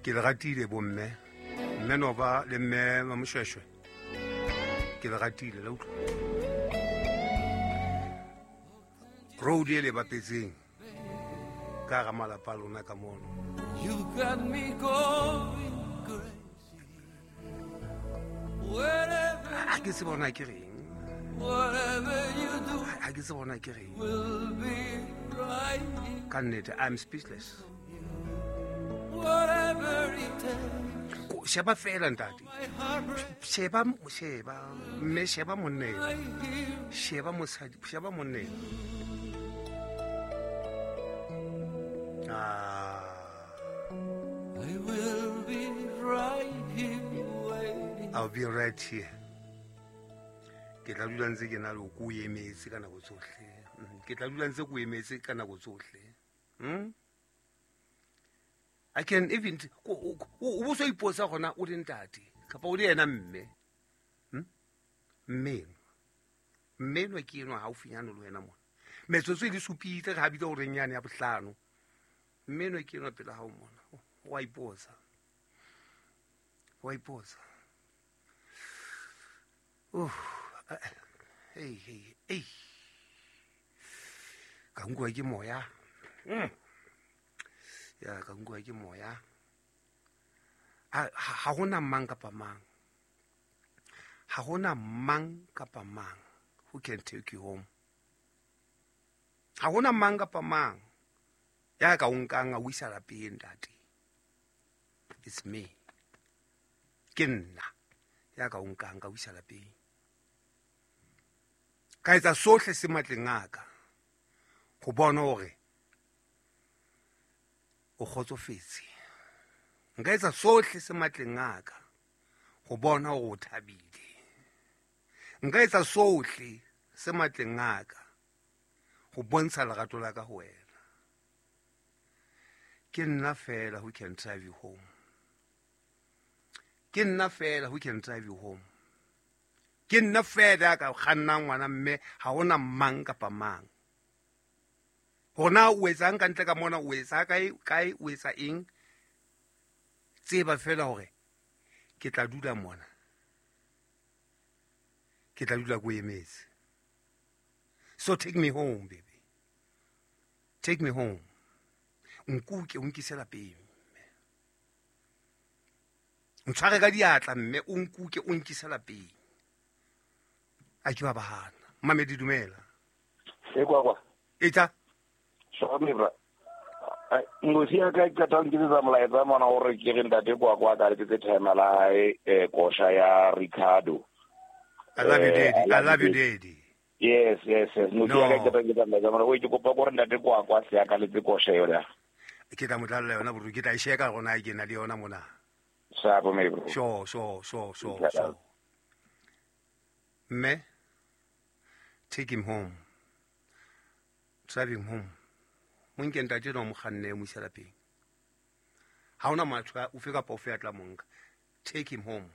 Ke le ratile bomme, mme Nova le mme Mamoshweshwe, ke le ratile la utlwa. Road e le bapetseng ka ga malapa a lona ka mono. Ha ke se bona ke reng, ha ke se bona ke reng ka nnete. I'm speechless. Sheba fela ntate, sheba, sheba mme, sheba monna eno, sheba mosadi, sheba monna eno. Ah. I will be right here waiting. I'll be right here. Ke tla dula ntse ke na le ko emetse ka nako tsohle. Ke tla dula ntse ko emetse ka nako tsohle. I can even o bo so ipotsa gona o le ntate kapa o le yena mme. Mme mme enwa ke enwa haufinyane le wena mona. Metsotso e le supile re habile horeng yane ya bohlano. Mme enwa ke enwa pela hao mona. Wa ipotsa. Wa ipotsa. Oh, hey, hey, hey. Ka nkuwa ke moya. Ya, ka nkuwa ke moya. Ha hona mang kapa mang. Ha hona mang kapa mang who can take you home. Ha hona mang kapa mang ya ka o nkang a o isa lapeng, ntate. It's me. Ke nna ya ka o nkang ka o isa lapeng. Ka etsa sohle se matleng a ka go bona hore o kgotsofetse. Nka etsa sohle se matleng a ka go bona hore o thabile. Nka etsa sohle se matleng a ka go bontsha lerato la ka ho wena. Ke nna fela who can drive you home. Ke nna fela who can drive you home. Ke nna fela ya ka kgannang ngwana mme, ha hona mang kapa mang. Hore na o etsang ka ntle ka mona, o etsa kae, kae, o etsa eng, tseba fela hore ke tla dula mona. Ke tla dula ko emetse. So take me home, baby. Take me home. Nkuke, o nkise lapeng. Ntshware ka diatla mme o nkuke o nkise lapeng. A ke ba bahana. Mamedi, dumela. E kwa kwa. Etsa. Sorry bra. Ngosi ya ka qeta ho nketsetsa molaetsa mona hore ke re ntate kwa kwa ka letsetse timer la hae, kosha ya Ricardo. I love you, daddy. I love you, daddy. Yes, yes, yes. Ngosi ya ka qeta ho nketsetsa molaetsa mona. O ke kopa gore ntate kwa kwa se ya ka letse kosha yona. Ke tla mo tlalla yona bro, ke tla e sheka gona ke na le yona mona. Sharp, me bro. Sure, sure, sure, sure, sure. Mme, take him home. Drive him home. Mo nke ntate no mo kganne mo isa lapeng. Ha hona motho ofe kapa ofe ya tla mo nka. Take him home.